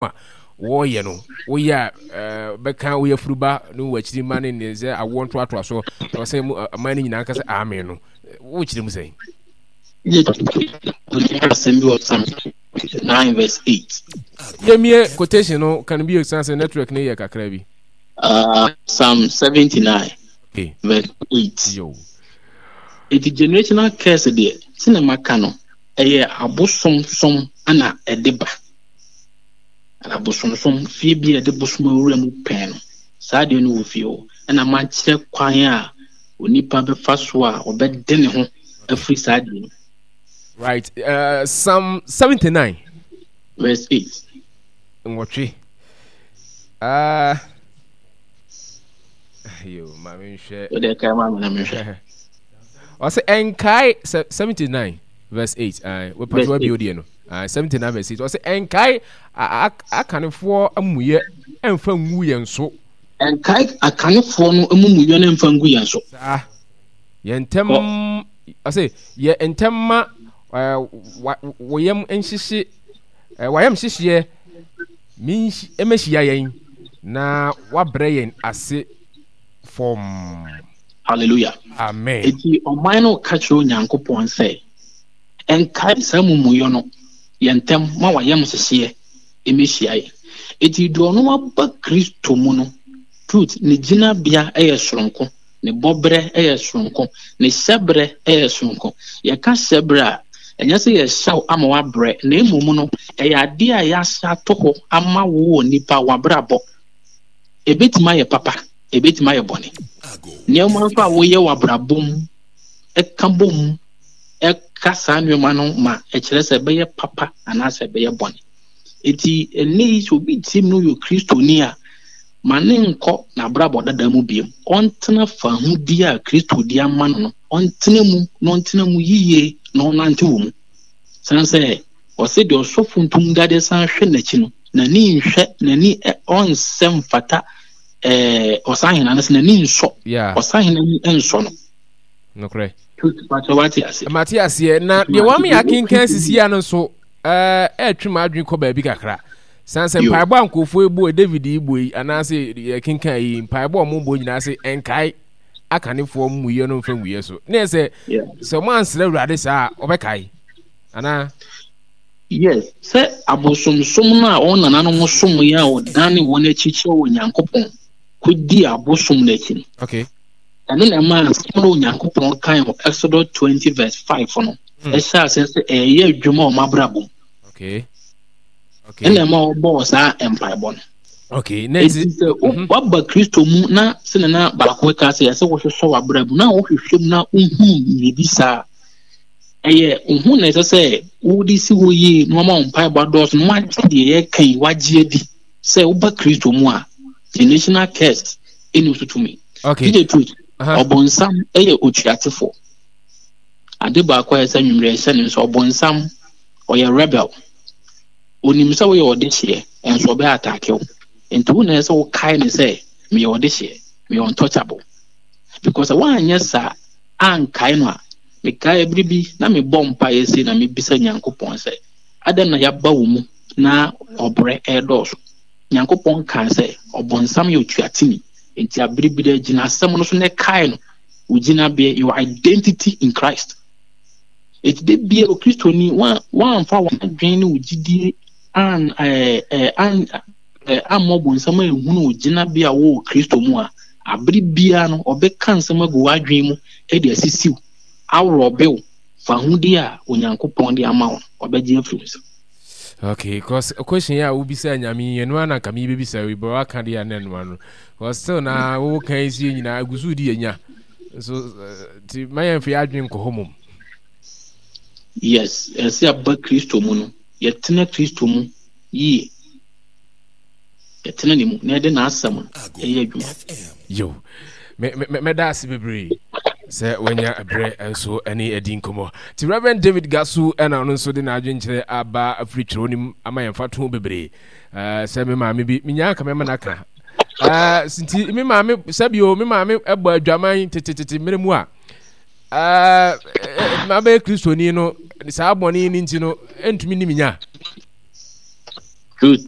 A wɔreyɛ no, woyɛ a eh, bɛka wo yafuruba ne w'akyiri mma ne ne sɛ awoɔ ntoatoasoɔ na wɔsɛ mu aman no nyinaa nka sɛ amen no, wokyerɛ mu sɛn? Asɛm bi wɔ Psalm 9 verse 8. Yɛmie quotation no kan bio san sɛ network no yɛ kakra bi. Psalm 79 okay. verse 8. Yo. Eti generational curse deɛ, sɛnea maka no, ɛyɛ abosomsom na ɛde ba. Abosomsom, fie bi a yɛde bosom awura mu pɛn no, saa adeɛ no wɔ fie hɔ. Ɛna makyerɛ kwan a onipa bɛfa so a ɔbɛde ne ho afiri saa adeɛ no. Right. Psalm 79. Verse 8. Nwɔtwe. Yo, ma menhwɛ. Wode kae ma me na menhwɛ. Ɔsɛ ɛnkae 79 verse 8. Wepatwa wa bio deɛ no. 79 verse 8. Ɔsɛ ɛnkae akanefoɔ amumuyɛ ɛmfa ngu yɛn so. Ɛnkae akanefoɔ no amumuyɛ no ɛmfa ngu yɛn so. Saa. Yɛn ntɛm ɔsɛ yɛ ntɛm ma wɔ yam nhyehye wayam hyehyeɛ mmɛhyia yɛn na wabrɛ yɛn ase fam. Hallelujah. Amen. Eti ɔman no ka kyerɛ Onyankopɔn sɛ, Nkae saa amumuyɔ no, yɛ ntɛm ma w'ayamhyehyeɛ mmɛhyia yɛn. Eti deɛ ɔno aba Kristo mu no, truth, ne gyinabea yɛ soronko, ne bɔberɛ yɛ soronko, ne hyɛberɛ yɛ soronko. Yɛka hyɛberɛ a, ɛnyɛ sɛ yɛhyɛ wo ama woabrɛ, na mmom no, ɛyɛ adeɛ a yɛahyɛ ato hɔ ama wo wɔ nipa w'abrabɔ. Ɛbɛtumi ayɛ papa, ɛbɛtumi ayɛ bɔne. Nneɛma nso a woyɛ wɔ abrabɔ mu ɛka bɔ mu ɛka saa nneɛma no ma ɛkyerɛ sɛ ɛbɛyɛ papa anaasɛ ɛbɛyɛ bɔne. Eti ɛnnɛ yi sɛ obi tie mu no yɛ Kristoni a, ma ne nkɔ n'abrabɔ dada mu biom. Ɔntena fahodie a Kristo de ama no no, ɔntena mu na ɔntena mu yiye na ɔnante wɔ mu. San sɛ ɔse deɛ ɔsɔfo ntom dadeɛ san hwɛ n'akyi no, n'ani nhwɛ, n'ani ɔnsɛ mfata ɛɛ ɔsahene anaasɛ n'ani nsɔ. Ɔsahene ani nsɔ no. Nokorɛ. Pakyɛ wate ase. Mate aseɛ. Na deɛ wame akenkan sisi ano nso ɛretwe m'adwene kɔ baabi kakra. San sɛ mpaebɔ a nkurɔfoɔ yi bɔ David yi bɔ yi anaasɛ yɛkenkan yi mpaebɔ a wɔbɔ nyinaa sɛ ɛnkae akanefoɔ mmuyɛ no mfa nwuyɛ so. Ne yɛ sɛ sɛ wɔn ansrɛ Awurade saa a ɔbɛkae anaa? Yes, sɛ abosomsom no a wɔn nananom som yɛ a wɔdane wɔn akyi kyerɛ Onyankopɔn kɔdi abosom no akyi no. Okay. Ɛno na ɛmaa asɛm no Onyankopɔn kae wɔ Exodus 20 verse 5 no ɛhyɛ aseɛ sɛ ɛyɛ adwuma wɔ m'abrabɔ mu. Okay. Okay. Ɛna ɛma wɔbɔɔ saa mpaebɔ no. Okay. Na nti sɛ mhm. waba Kristo mu na sɛnea na baako ka sɛ ɛsɛ wohwehwɛ w'abrabɔ mu na wohwehwɛ mu na wohunu biribi saa ɛyɛ wo ho na ɛsɛ sɛ wode si hɔ yie na wama wo mpaebɔ adɔɔso na wagye deɛ yɛka yi wagye adi sɛ woba Kristo mu a generational curse ɛni so tumi. Okay. DJ Truth, ɔbɔnsam yɛ otuatefoɔ. Ade baako a ɛsɛ nwummerɛ ɛhyɛ ne nso ɔbɔnsam ɔyɛ rebel. Onim sɛ woyɛ ɔdehyeɛ nso ɔbɛ ataake wo. Nti wo na ɛsɛ wokae ne sɛ meyɛ ɔdehyeɛ, meyɛ untouchable. Because woanyɛ saa ankae no a, mekae bere bi na mebɔ mpaeɛ sei na mebisa Nyankopɔn sɛ adɛn na yɛaba wo mu na ɔbrɛ ɛredɔɔso. Nyankopɔn kaa sɛ ɔbɔnsam yɛ otuateni. Enti abere bi dɛ gyina asɛm no so na kae no, wo gyinabea, your identity in Christ. Enti da bia Okristoni woamfa w'adwene ne wo gyidie an ɛɛ eh, an eh, ammɔ ɔbonsam anhunu wo gyinabea wɔ Kristo mu a, abere biara no ɔbɛka nsɛm agu w'adwene mu de asisiw, aworɔbe wo, fahodie a Onyankopɔn de ama wo no, ɔbɛgye afiri wo nsam. Okay, cause question yi a wobisa nyame yi ɛno ara na nka mebɛbisa yi bɛ waka deɛ na ɛno ano cause still na wowo kan yi sie nyinaa agu so di yɛnya nso nti ma yɛmfa yɛ adwene nkɔ hɔ mom. Yes, ɛsɛ aba Kristo mu no yɛtena Kristo mu yie yɛtena ne mu na yɛde n'asɛm no ɛyɛ adwuma. Yo, mɛda ase bebree sɛ wanya berɛ nso ne adi nkɔmmɔ. Nti Reverend David Gasu ɛna ɔno nso de n'adwenkyerɛ aba afiri twerɛ no mu ama yɛn mfatoho bebree. Sɛ me maame bi, menyaa nka mɛma no aka. Nti me maame, sɛbio me maame bɔ adwaman tetetete mmerɛ mu a, mabɛyɛ Kristoni no, saa bɔne no nti no, ɛntumi ni me nya. Good.